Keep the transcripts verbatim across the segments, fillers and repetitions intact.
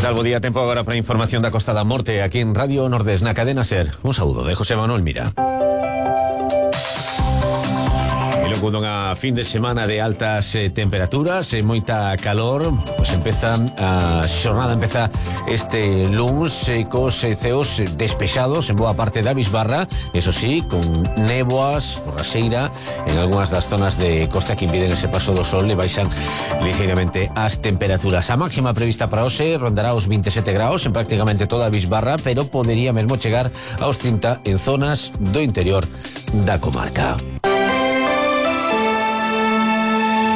tal? Bo día, tempo agora para a información da Costa da Morte aquí en Radio Nordés, na cadena SER. Un saúdo de José Manuel Mira. E logo dunha fin de semana de altas eh, temperaturas e moita calor, pois empezan a xornada empeza este luns eh, cos eh, ceos despexados en boa parte da bisbarra, eso sí, con néboas, borraxeira en algunhas das zonas de costa que impiden ese paso do sol e baixan ligeiramente as temperaturas. A máxima prevista para hoxe rondará os veintisiete graus en prácticamente toda a bisbarra, pero podería mesmo chegar aos trinta en zonas do interior da comarca.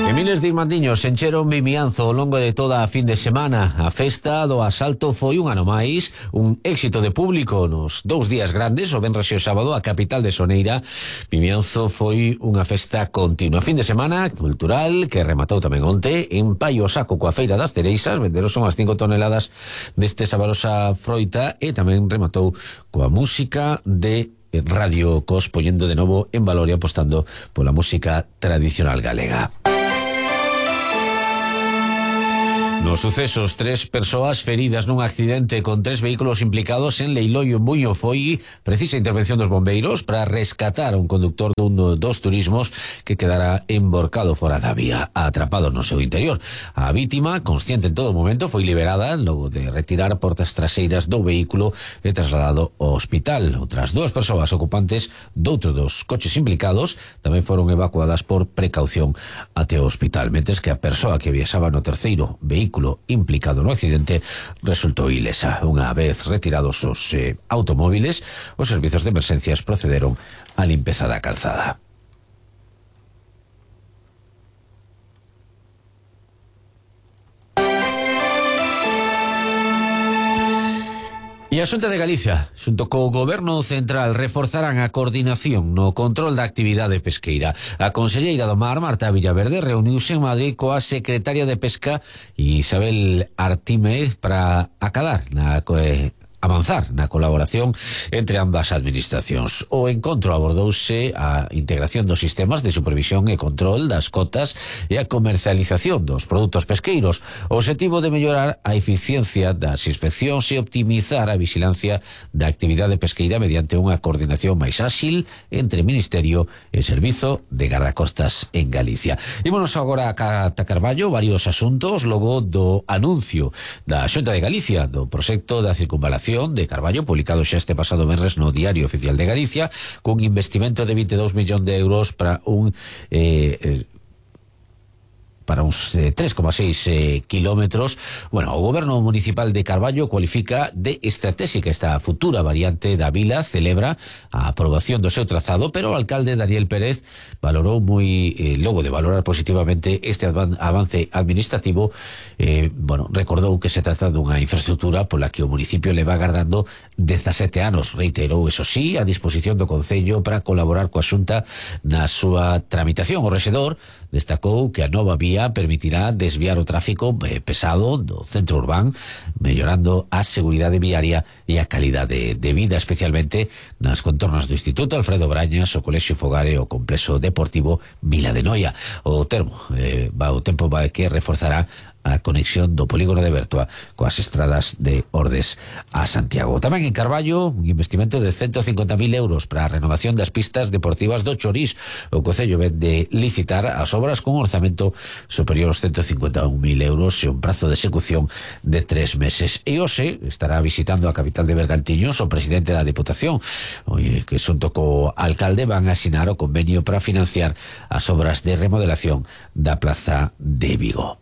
E miles de irmandiños encheron Vimianzo ao longo de toda a fin de semana. A festa do asalto foi un ano máis, un éxito de público nos dous días grandes, o venres e o sábado, a capital de Soneira. Vimianzo foi unha festa continua. Fin de semana cultural que rematou tamén onte en Paio Saco coa Feira das Cereixas. Venderon son as cinco toneladas deste saborosa froita e tamén rematou coa música de Radio Cos, poñendo de novo en valor e apostando pola música tradicional galega. Nos sucesos, tres persoas feridas nun accidente con tres vehículos implicados en Leiloio en Buño. Foi precisa intervención dos bombeiros para rescatar a un conductor dun dos turismos que quedara emborcado fora da vía, atrapado no seu interior. A vítima, consciente en todo momento, foi liberada logo de retirar portas traseiras do vehículo e trasladado ao hospital. Outras dúas persoas ocupantes doutro dos coches implicados tamén foron evacuadas por precaución até o hospital, mentres que a persoa que viaxaba no terceiro vehículo implicado no accidente resultou ilesa. Unha vez retirados os eh, automóviles, os servizos de emerxencias procederon á limpeza da calzada. E a Xunta de Galicia, xunto co Goberno Central, reforzarán a coordinación no control da actividade pesqueira. A conselleira do Mar, Marta Villaverde, reuniuse en Madrid coa secretaria de Pesca, Isabel Artime, para acadar na eh, avanzar na colaboración entre ambas administracións. O encontro abordouse a integración dos sistemas de supervisión e control das cotas e a comercialización dos produtos pesqueiros. O obxectivo de mellorar a eficiencia das inspeccións e optimizar a vigilancia da actividade pesqueira mediante unha coordinación máis áxil entre Ministerio e Servizo de Gardacostas en Galicia. Ímonos agora a Cata Carballo, varios asuntos logo do anuncio da Xunta de Galicia do proxecto da circunvalación de Carballo, publicado xa este pasado venres no Diario Oficial de Galicia, cun investimento de vinte e dous millóns de euros para un eh, eh, para uns eh, tres coma seis eh, kilómetros. Bueno, o Goberno Municipal de Carballo cualifica de estratégica esta futura variante da vila, celebra a aprobación do seu trazado, pero o alcalde Daniel Pérez valorou moi, eh, logo de valorar positivamente este avance administrativo, eh, bueno, recordou que se trata dunha infraestructura pola que o municipio leva agardando dezasete anos. Reiterou, eso sí, a disposición do Concello para colaborar coa Xunta na súa tramitación. O rexedor destacou que a nova vía permitirá desviar o tráfico eh, pesado do centro urbán, mellorando a seguridade viaria e a calidade de vida, especialmente nas contornas do Instituto Alfredo Brañas, o Colexio Fogar e o Complexo Deportivo Vila de Noia. O termo, eh, va, o tempo vai que reforzará a conexión do polígono de Bertoa coas estradas de Ordes a Santiago. Tamén en Carballo, un investimento de ciento cincuenta mil euros para a renovación das pistas deportivas do Chorís. O Concello ven de licitar as obras con un orzamento superior aos ciento cincuenta e un mil euros e un prazo de execución de tres meses. E hoxe estará visitando a capital de Bergantiños o presidente da Diputación, oye, que xunto co alcalde van a asinar o convenio para financiar as obras de remodelación da Plaza de Vigo.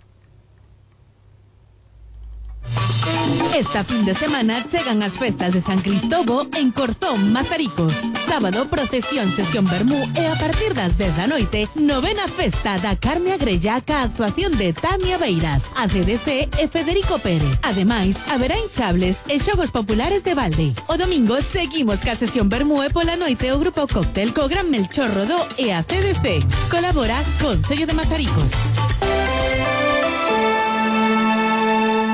Esta fin de semana chegan as festas de San Cristobo en Corzón, Mazaricos. Sábado, procesión, sesión vermú e a partir das dez da noite, novena festa da carne agrella ca actuación de Tania Beiras, A C D C e Federico Pérez. Ademais, haberá hinchables e xogos populares de balde. O domingo seguimos ca sesión vermú e pola noite o grupo Cóctel co Gran Melchor Rodó e A C D C. Colabora Concello de Mazaricos.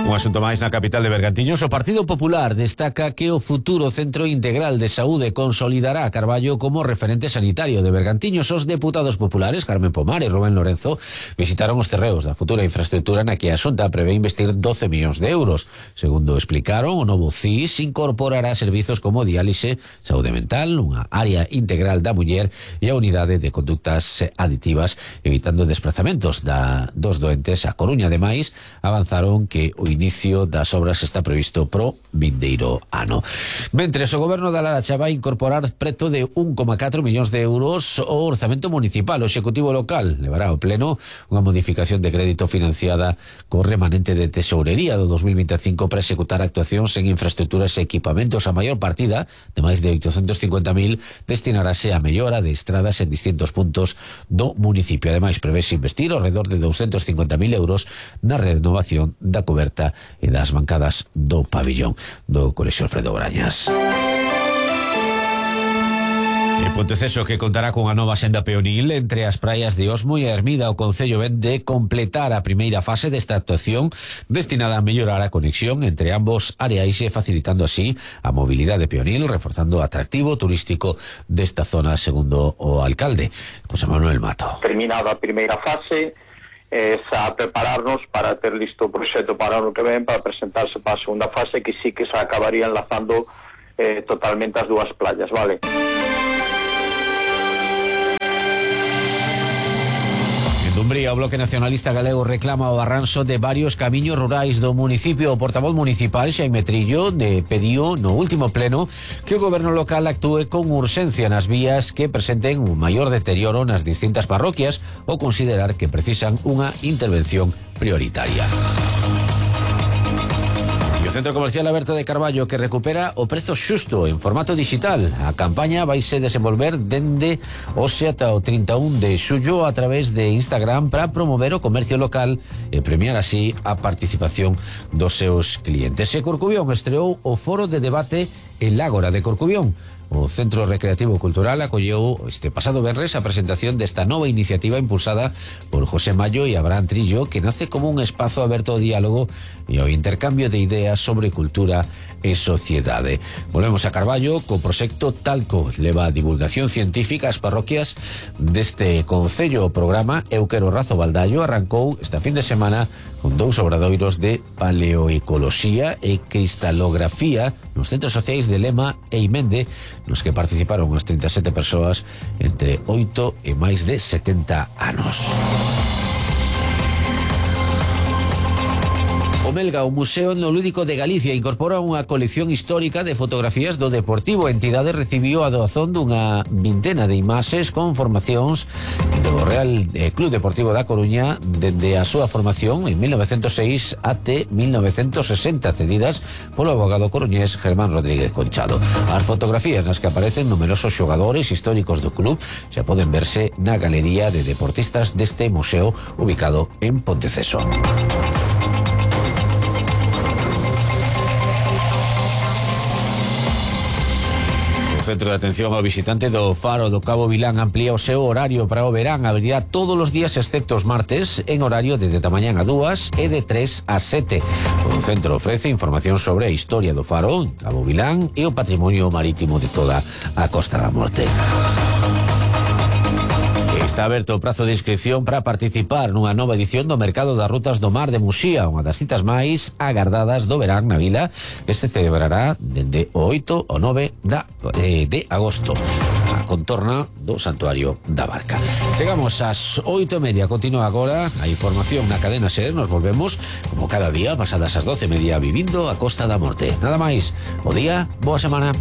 Un asunto máis na capital de Bergantiños. O Partido Popular destaca que o futuro Centro Integral de Saúde consolidará a Carballo como referente sanitario de Bergantiños. Os deputados populares Carmen Pomar e Rubén Lorenzo visitaron os terreos da futura infraestructura na que a Xunta prevé investir doce millóns de euros. Segundo explicaron, o novo C I S incorporará servizos como diálise, saúde mental, unha área integral da muller e a unidade de conductas aditivas, evitando desplazamentos da, dos doentes a Coruña. Ademais, avanzaron que o inicio das obras está previsto pro vindeiro ano. Mentres, o goberno da Laracha vai incorporar preto de un coma catro millóns de euros ao orzamento municipal. O Executivo local levará ao pleno unha modificación de crédito financiada co remanente de tesourería do dos mil veinticinco para executar actuacións en infraestructuras e equipamentos. A maior partida, de máis de oitocentos cincuenta mil, destinarase a mellora de estradas en distintos puntos do municipio. Ademais, prevese investir ao redor de doscientos cincuenta mil euros na renovación da coberta e das bancadas do pabillón do Colexio Alfredo Brañas. E Ponteceso, que contará con a nova senda peonil entre as praias de Osmo e Hermida. O Concello ven de completar a primeira fase desta actuación destinada a mellorar a conexión entre ambos areais e facilitando así a mobilidade peonil, reforzando o atractivo turístico desta zona, segundo o alcalde José Manuel Mato. Terminada a primeira fase, eh, a prepararnos para ter listo o proxecto para o ano que ven, para presentarse para a segunda fase, que sí que se acabaría enlazando eh, totalmente as dúas playas, vale? En Dumbría, o Bloque Nacionalista Galego reclama o arranxo de varios camiños rurais do municipio. O portavoz municipal, Xaime Trillo, de pediu no último pleno que o goberno local actúe con urxencia nas vías que presenten un maior deterioro nas distintas parroquias ou considerar que precisan unha intervención prioritaria. Centro Comercial Aberto de Carballo, que recupera o prezo xusto en formato digital. A campaña vaise desenvolver dende hoxe ata o trinta e un de xullo a través de Instagram para promover o comercio local e premiar así a participación dos seus clientes. E Corcubión estreou o foro de debate El Ágora de Corcubión. O Centro Recreativo Cultural acolleu este pasado venres a presentación desta nova iniciativa impulsada por José Mayo e Abraham Trillo, que nace como un espazo aberto ao diálogo e ao intercambio de ideas sobre cultura e sociedade. Volvemos a Carballo co proxecto Talco. Leva a divulgación científica ás parroquias deste concello. O programa Eu Quero Razo Baldallo arrancou esta fin de semana con dous obradoiros de paleoecoloxía e cristalografía nos centros sociais de Lema e Imende, nos que participaron as trinta e sete persoas entre oito e máis de setenta anos. O Melga, o Museo Etnolúdico de Galicia, incorpora unha colección histórica de fotografías do Deportivo. A entidade recibiu a doazón dunha vintena de imaxes con formacións do Real Club Deportivo da Coruña dende a súa formación en mil novecentos seis até mil novecentos sesenta, cedidas polo abogado coruñés Germán Rodríguez Conchado. As fotografías nas que aparecen numerosos xogadores históricos do club xa poden verse na galería de deportistas deste museo ubicado en Ponteceso. O Centro de Atención ao Visitante do Faro do Cabo Vilán amplía o seu horario para o verán. Abrirá todos os días excepto os martes en horario de de mañán a dúas e de tres a sete. O centro ofrece información sobre a historia do Faro, Cabo Vilán e o patrimonio marítimo de toda a Costa da Morte. Está aberto o prazo de inscripción para participar nunha nova edición do Mercado das Rutas do Mar de Muxía, unha das citas máis agardadas do verán na vila, que se celebrará dende o oito ao nove de agosto, a contorna do Santuario da Barca. Chegamos ás oito e media, continúa agora a información na cadena SER. Nos volvemos como cada día pasadas as doce e media vivindo a Costa da Morte. Nada máis, bo día, boa semana.